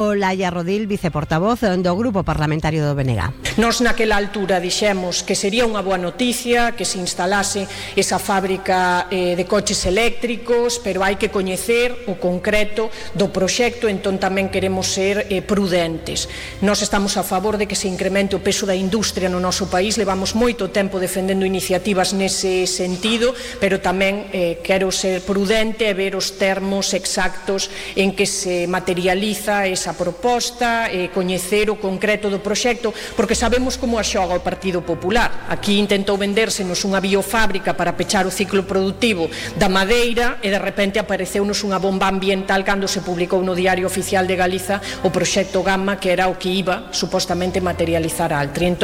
Olaya Rodil, viceportavoz do Grupo Parlamentario do BNG. Nos naquela altura dixemos que sería unha boa noticia que se instalase esa fábrica de coches eléctricos, pero hai que coñecer o concreto do proxecto, entón tamén queremos ser prudentes. Nós estamos a favor de que se incremente o peso da industria no noso país, levamos moito tempo defendendo iniciativas nese sentido, pero tamén quero ser prudente e ver os termos exactos en que se materializa esa proposta, coñecer o concreto do proxecto, porque sabemos como a xoga o Partido Popular. Aquí intentou vendérsenos unha biofábrica para pechar o ciclo productivo da madeira e de repente apareceunos unha bomba ambiental cando se publicou no Diario Oficial de Galiza o proxecto Gamma, que era o que iba supostamente materializar a Altri.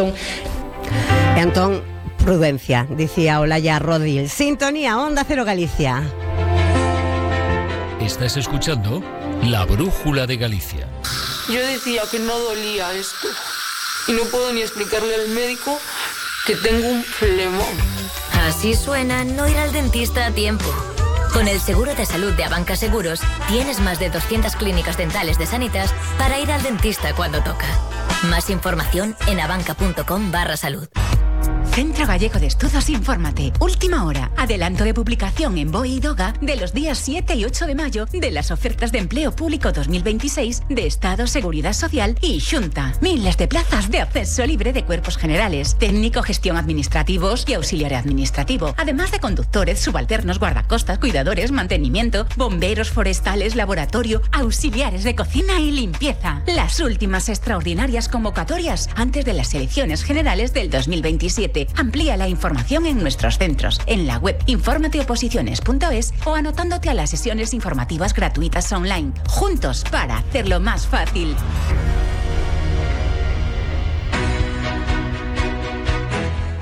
Entón, prudencia, dicía Olaya Rodil. Sintonía, Onda Cero Galicia. Estás escuchando La Brújula de Galicia. Yo decía que no dolía esto y no puedo ni explicarle al médico que tengo un flemón. Así suena no ir al dentista a tiempo. Con el seguro de salud de Abanca Seguros tienes más de 200 clínicas dentales de Sanitas para ir al dentista cuando toca. Más información en abanca.com/salud. Centro Gallego de Estudos Infórmate. Última hora. Adelanto de publicación en BOE y DOGA de los días 7 y 8 de mayo de las ofertas de empleo público 2026 de Estado, Seguridad Social y Xunta. Miles de plazas de acceso libre de cuerpos generales, técnico, gestión administrativos y auxiliar administrativo. Además de conductores, subalternos, guardacostas, cuidadores, mantenimiento, bomberos forestales, laboratorio, auxiliares de cocina y limpieza. Las últimas extraordinarias convocatorias antes de las elecciones generales del 2027. Amplía la información en nuestros centros, en la web informateoposiciones.es o anotándote a las sesiones informativas gratuitas online. Juntos para hacerlo más fácil.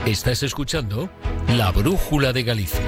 Estás escuchando La Brújula de Galicia.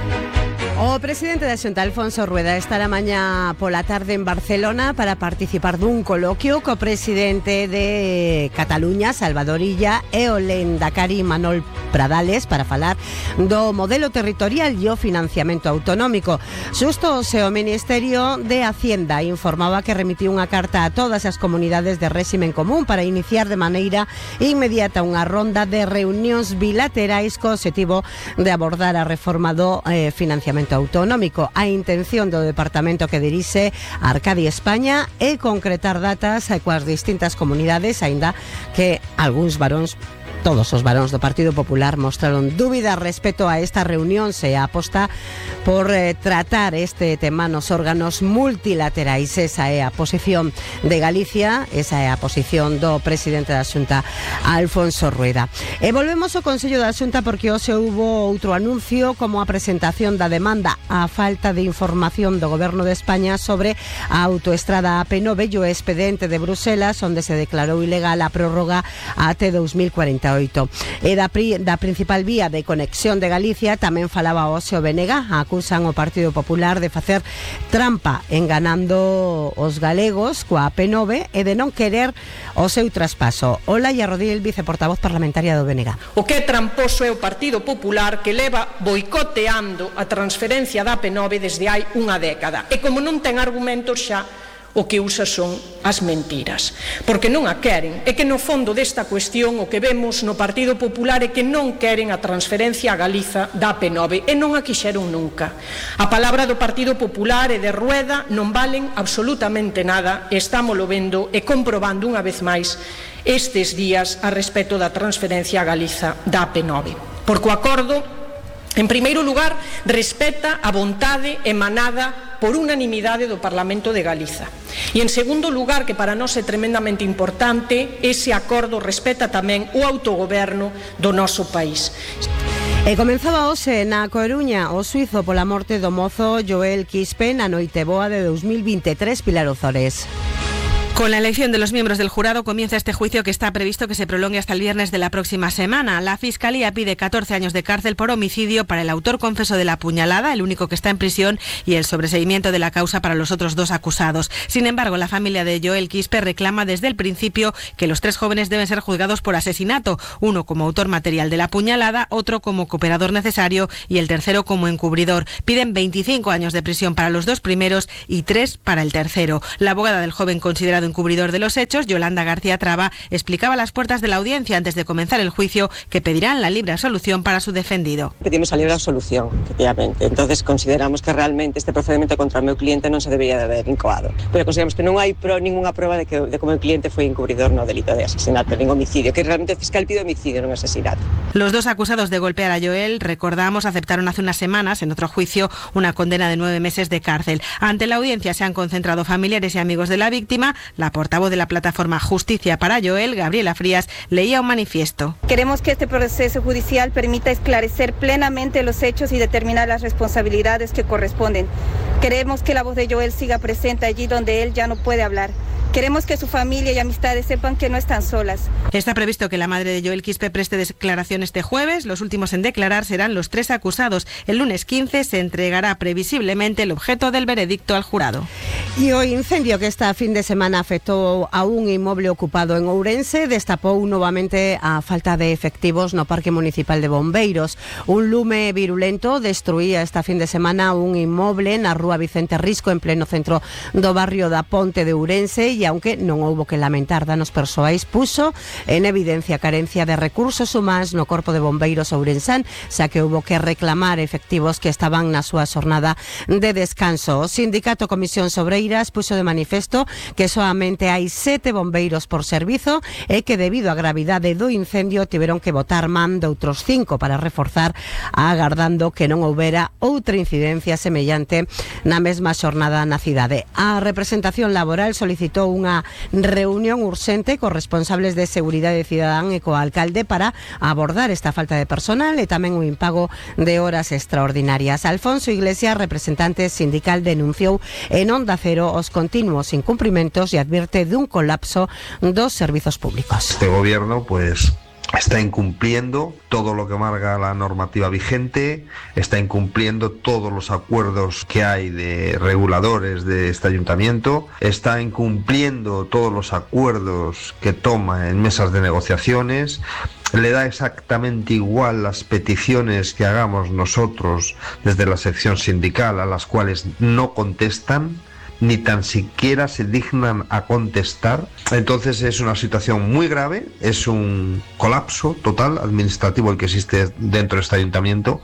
O presidente da Xunta, Alfonso Rueda, estará mañá pola tarde en Barcelona para participar dun coloquio co presidente de Cataluña, Salvador Illa, e o lehendakari Manol Pradales para falar do modelo territorial e o financiamento autonómico. Xusto o Ministerio de Hacienda informaba que remitiu unha carta a todas as comunidades de réximen común para iniciar de maneira inmediata unha ronda de reunións bilaterais co obxectivo de abordar a reforma do financiamento autonómico. A intención do departamento que dirixe Arcadia España é concretar datas coas distintas comunidades, aínda que algúns varóns, todos os varóns do Partido Popular, mostraron dúbida respecto a esta reunión e a aposta por tratar este tema nos órganos multilaterais. Esa é a posición de Galicia, esa é a posición do presidente da Xunta, Alfonso Rueda. E volvemos ao Consello da Xunta porque hoxe houbo outro anuncio como a presentación da demanda á falta de información do Goberno de España sobre a autoestrada AP9 e o expediente de Bruselas, onde se declarou ilegal a prórroga até 2048. E da principal vía de conexión de Galicia tamén falaba hoxe o BNG. Acusan o Partido Popular de facer trampa enganando os galegos coa AP9 e de non querer o seu traspaso. Olaya Rodil, viceportavoz parlamentaria do BNG. O que é tramposo é o Partido Popular, que leva boicoteando a transferencia da AP9 desde hai unha década. E como non ten argumentos xa, o que usa son as mentiras, porque non a queren. É que no fondo desta cuestión o que vemos no Partido Popular é que non queren a transferencia a Galiza da AP9 e non a quixeron nunca. A palabra do Partido Popular e de Rueda non valen absolutamente nada e estámolo vendo e comprobando unha vez máis estes días a respecto da transferencia a Galiza da AP9. Porque o acordo, en primeiro lugar, respeta a vontade emanada por unanimidade do Parlamento de Galiza. E en segundo lugar, que para nós é tremendamente importante, ese acordo respeta tamén o autogoberno do noso país. E comenzaba hoxe na Coruña o xuízo pola morte do mozo Joel Quispe na Noiteboa de 2023, Pilar Ozores. Con la elección de los miembros del jurado comienza este juicio que está previsto que se prolongue hasta el viernes de la próxima semana. La Fiscalía pide 14 años de cárcel por homicidio para el autor confeso de la puñalada, el único que está en prisión, y el sobreseimiento de la causa para los otros dos acusados. Sin embargo, la familia de Joel Quispe reclama desde el principio que los tres jóvenes deben ser juzgados por asesinato, uno como autor material de la puñalada, otro como cooperador necesario y el tercero como encubridor. Piden 25 años de prisión para los dos primeros y 3 para el tercero. La abogada del joven considerado encubridor de los hechos, Yolanda García Traba, explicaba a las puertas de la audiencia antes de comenzar el juicio que pedirán la libre absolución para su defendido. Pedimos a libre absolución, efectivamente. Entonces consideramos que realmente este procedimento contra o meu cliente non se debería de haber incoado. Pero consideramos que non hai ninguna prueba de que o meu cliente foi encubridor no delito de asesinato, nin homicidio, que realmente o fiscal pide homicidio, non asesinato. Los dos acusados de golpear a Joel, recordamos, aceptaron hace unas semanas en otro juicio una condena de 9 meses de cárcel. Ante la audiencia se han concentrado familiares y amigos de la víctima. La portavoz de la plataforma Justicia para Joel, Gabriela Frías, leía un manifiesto. Queremos que este proceso judicial permita esclarecer plenamente los hechos y determinar las responsabilidades que corresponden. Queremos que la voz de Joel siga presente allí donde él ya no puede hablar. Queremos que su familia y amistades sepan que no están solas. Está previsto que la madre de Joel Quispe preste declaración este jueves. Los últimos en declarar serán los 3 acusados. El lunes 15 se entregará previsiblemente el objeto del veredicto al jurado. Y o incendio que esta fin de semana afectou a un inmoble ocupado en Ourense destapou novamente a falta de efectivos no Parque Municipal de Bombeiros. Un lume virulento destruía esta fin de semana un inmoble na rúa Vicente Risco en pleno centro do barrio da Ponte de Ourense e aunque non houbo que lamentar danos persoais, puso en evidencia a carencia de recursos humanos no Corpo de Bombeiros ourensán, xa que houbo que reclamar efectivos que estaban na súa xornada de descanso. O sindicato Comisións Obreiras puso de manifesto que soamente hai 7 bombeiros por servizo e que debido á gravidade do incendio tiveron que botar man de outros 5 para reforzar, agardando que non houbera outra incidencia semellante na mesma xornada na cidade. A representación laboral solicitou unha reunión urxente cos responsables de Seguridade Cidadán e co alcalde para abordar esta falta de personal e tamén o impago de horas extraordinarias. Alfonso Iglesias, representante sindical, denunciou en Onda Cero os continuos incumprimentos e advierte dun colapso dos servizos públicos. Este gobierno, está incumpliendo todo lo que marca la normativa vigente, está incumpliendo todos los acuerdos que hay de reguladores de este ayuntamiento, está incumpliendo todos los acuerdos que toma en mesas de negociaciones, le da exactamente igual las peticiones que hagamos nosotros desde la sección sindical, a las cuales no contestan, ni tan siquiera se dignan a contestar. Entonces es una situación muy grave, es un colapso total administrativo el que existe dentro de este ayuntamiento.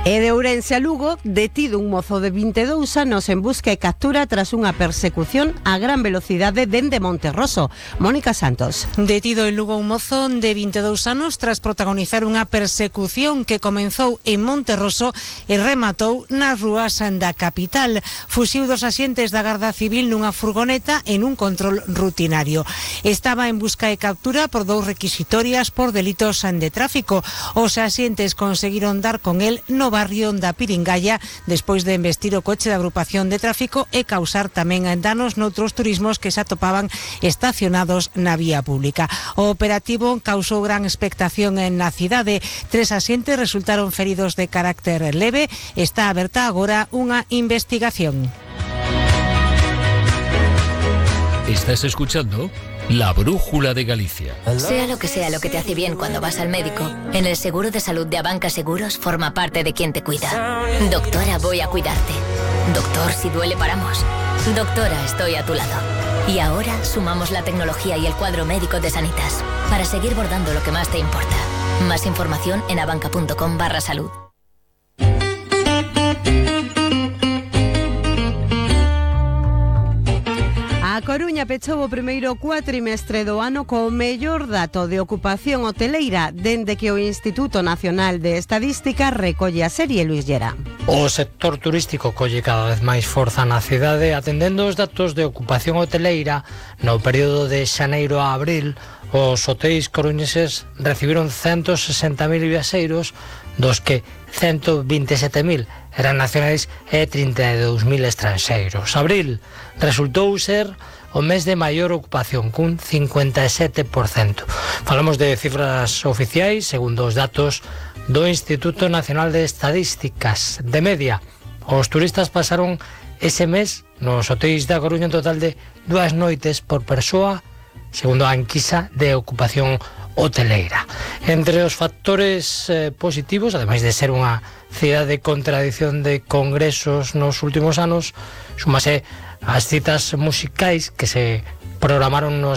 E de Ourense a Lugo, detido un mozo de 22 anos en busca e captura tras unha persecución a gran velocidade dende Monterroso. Mónica Santos. Detido en Lugo un mozo de 22 anos tras protagonizar unha persecución que comenzou en Monterroso e rematou nas rúas da capital. Fuxiu dos axentes da Garda Civil nunha furgoneta en un control rutinario. Estaba en busca e captura por 2 requisitorias por delitos de tráfico. Os axentes conseguiron dar con el no barrio da Piringalla despois de embestir o coche da agrupación de tráfico e causar tamén danos noutros turismos que se atopaban estacionados na vía pública. O operativo causou gran expectación na cidade. 3 axentes resultaron feridos de carácter leve. Está aberta agora unha investigación. Estás escuchando La Brújula de Galicia. Sea lo que te hace bien cuando vas al médico, en el seguro de salud de Abanca Seguros forma parte de quien te cuida. Doctora, voy a cuidarte. Doctor, si duele paramos. Doctora, estoy a tu lado. Y ahora sumamos la tecnología y el cuadro médico de Sanitas para seguir bordando lo que más te importa. Más información en abanca.com/salud. A Coruña pechou o primeiro cuatrimestre do ano co mellor dato de ocupación hoteleira dende que o Instituto Nacional de Estadística recolle a serie. Luis Llera. O sector turístico colle cada vez máis forza na cidade, atendendo os datos de ocupación hoteleira. No período de xaneiro a abril, os hotéis coruñeses recibiron 160.000 viaxeiros, dos que 127.000 eran nacionais e 32.000 estranxeiros. Abril resultou ser o mes de maior ocupación, cun 57%. Falamos de cifras oficiais, segundo os datos do Instituto Nacional de Estadísticas. De media, os turistas pasaron ese mes nos hotéis da Coruña un total de 2 noites por persoa, segundo a enquisa de ocupación hoteleira. Entre os factores positivos, ademais de ser unha cidade con tradición de congresos nos últimos anos, súmase as citas musicais que se programaron nos